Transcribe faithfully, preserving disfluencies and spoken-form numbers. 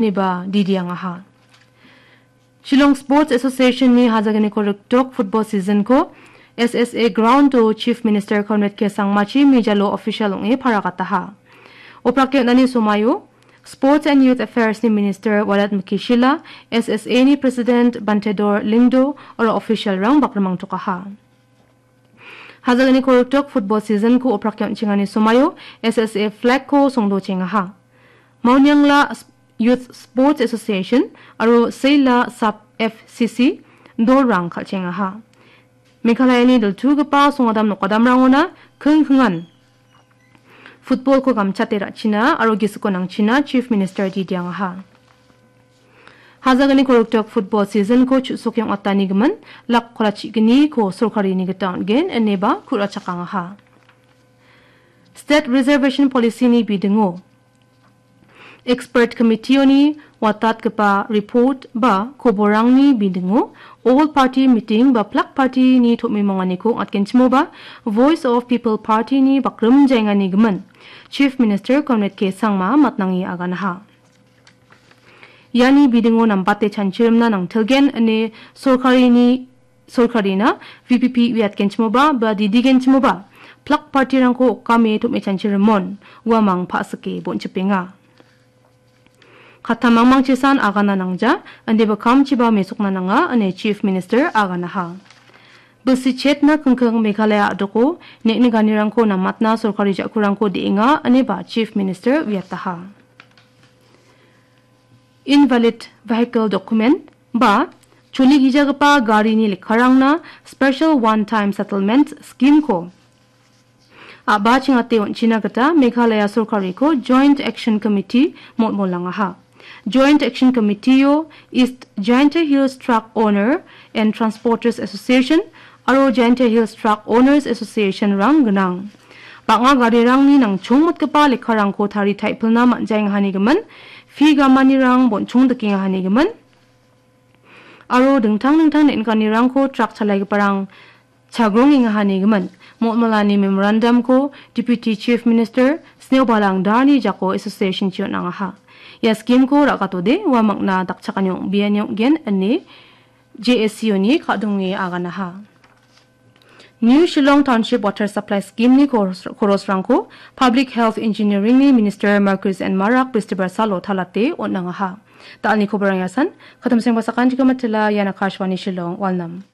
ineba didiangaha. Shillong Sports Association-ni hajaganiko rikdok football season-ko S S A ground-o Chief Minister Conrad K Sangmachi mijalo official ong·e paragataha. Oprakki on·ani somaio Sports and Youth Affairs-ni Minister Wadat Mukishila, S S A-ni President Bantedor Lyngdoh aro official-rang bakrimangtokaha. Hajalni koroktok football season-ko oprakki on·chengani somaio S S A flag-ko songdochengaha. Mauniangla S-, Youth Sports Association aro Seila Sub F C C dolrang kal·chengaha. Meghalayani diltugipa songadam nokadamrangona kingkingan football-ko gamchate ra·china aro gisiko nangchina Chief Minister didiangaha. Hajalni koroktok football season-ko chu·soke ong·atanigimin lak kolachigni-ko sorkarini gita on·gen ineba ku·rachakangaha. State Reservation Policy-ni bidingo Expert Committee-oni watatgipa report ba koborangni bidingo All Party Meeting ba Plak Party-ni tom·imonganiko ong·atgenchimoba Voice of People Party-ni bakrimjaenganigimin Chief Minister Conrad K Sangma matnange aganaha. Iani bidingo nambate chanchirimna nangtilgen ine sorkarini, sorkarina V P P uiatgenchimoba ba didigenchimoba Plak Party-rangko okame tom·e chanchirimon uamang pa·sike bonchipenga. Kattamangmangchisan agana nangja, indiba kamchiba mesokna nanga, ine Chief Minister aganaha. Bilsi chetna kingking Meghalaya a·doko neng·nikanirangko namatna sorkari ja·kurangko de·enga, ineba Chief Minister uiataha. Invalid vehicle document ba choligijagipa garini lekkarangna Special One Time Settlement Scheme-ko a·ba chingate on·china gita Meghalaya sorkariko Joint Action Committee molmolangaha. Joint Action Committee-o East Jaintia Hills Truck Owner and Transporters Association aro Jaintia Hills Truck Owners Association-rang gnang. Bang·a garirangni nangchongmotgipa lekkarangko tarie taipilna man·jaengahanigimin, fee gamanirang bonchong dikengahanigimin, aro dingtang dingtang neng·nikanirangko truck chalaigiparang chagrongengahanigimin, molmolani memorandum-ko Deputy Chief Minister Sneobalang Dhar-ni jako association-chi on·angaha. Ia scheme-ko ra·gatode uamangna dakchakani ong·biani ong·gen ine J S C O-ni ka·donge aganaha. New Shillong Township Water Supply Scheme-ni koros-, korosrangko Public Health Engineering-ni Minister Marcuise N Marak Bistibar salo talate on·angaha. Da·alni koborang iasan, katamsengba sakantikon matila, ian Akashvani Shillong, Walnam.